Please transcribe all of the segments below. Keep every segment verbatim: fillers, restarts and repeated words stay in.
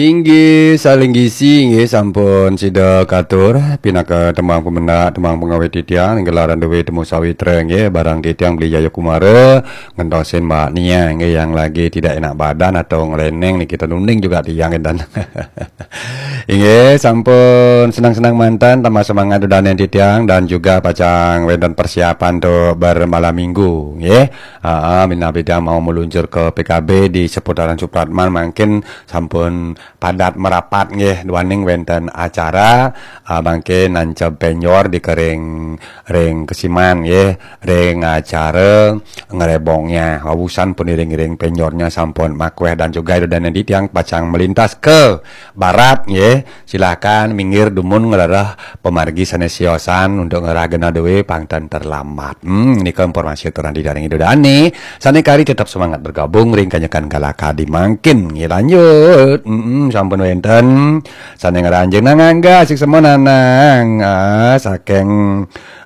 Inggih, saling gisi, inggih, sampun sida katur pinaka tembang pemendak, tembang pengawit titiang, ing gelaran duwe temu sawitra, inggih, barang titiang Beli Jaya Kumara, ngentosin Mbak Nia, inggih, yang lagi tidak enak badan atau ngeleneng niki, tenuning juga tiang, dan inggih, sampun senang-senang mantan, tambah semangat dudaning titiang, dan juga pacang wenten persiapan untuk bermalam minggu, inggih. Aa, minab titiang mau meluncur ke P K B di seputaran Supratman, mangkin sampun padat merapat nggih, duaning wenten acara, ah, mangke nancep penjor di kering ring kesiman nggih, ring acara ngerebongnya. Wawusan pun iring-iring penjornya sampun makweh dan juga ida dane titiang pacang melintas ke barat nggih. Silakan minggir dumun ngelereh pemargi sane siosan untuk ngerah genah duwe pang ten terlambat. Hmm, nika informasi aturan ida dane. Sane kari tetap semangat bergabung ring kanyekan galakadi mangkin. Nggih, lanjut. Mm-mm, sampun wenten sane ngranjing nang angga asik semua nanang. Ah, saking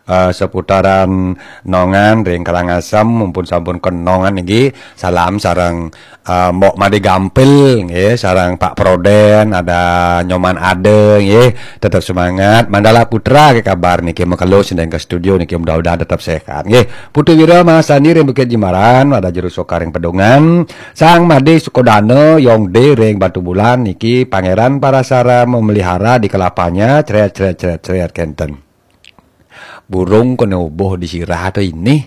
ah, seputaran Nongan ring Karangasem, mumpun sampun ke Nongan niki. Salam sareng ah, Mbok Made Gampil nggih, sareng Pak Proden, ada Nyoman Ade nggih. Tetap semangat. Mandala Putra ke kabar niki, mekelo sindeng ke studio niki, mudah-mudahan tetap sehat nggih. Putu Wira Mahasandi ring Bukit Jimbaran, ada Juru Soka ring Pedungan, Sang Made Sukodana Yongde ring Batu Bulan niki, Pangeran Parasara memelihara di kelapanya, cret cret cret cret kenten. Burung kena ubuh di sirah tu ini.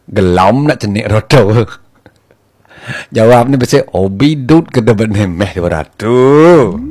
Gelom nak cenik roto. Jawab ni besi obi dut ke debet nemeh dua ratus.